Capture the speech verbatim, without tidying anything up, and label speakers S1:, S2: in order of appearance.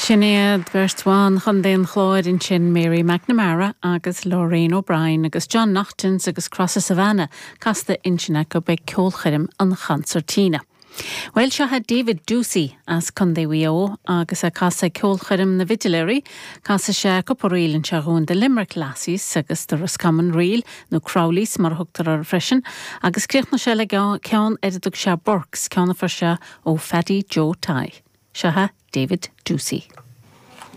S1: Sin iad beirt bhan Chontae an Chláir ansin Mary McNamara agus Lorraine O'Brien agus John Naughton's agus Crosses Savannah casta ansin acu ag ceolchoirm an Chancertina. Well seo é David Ducey as Contae Mhaigh Eo agus ag casadh ceolchoirm na bhFidléirí, Casfaidh sé cúpla ríl anseo dhúinn The Limerick Lassies agus the Roscommon Reel nó Crowleys mar thugtar air freisin, agus críochnóidh sé le ceann ar a dtug sé Burks ceann a fuair sé ó Phaddy Joe Tighe. Seo é David Ducey.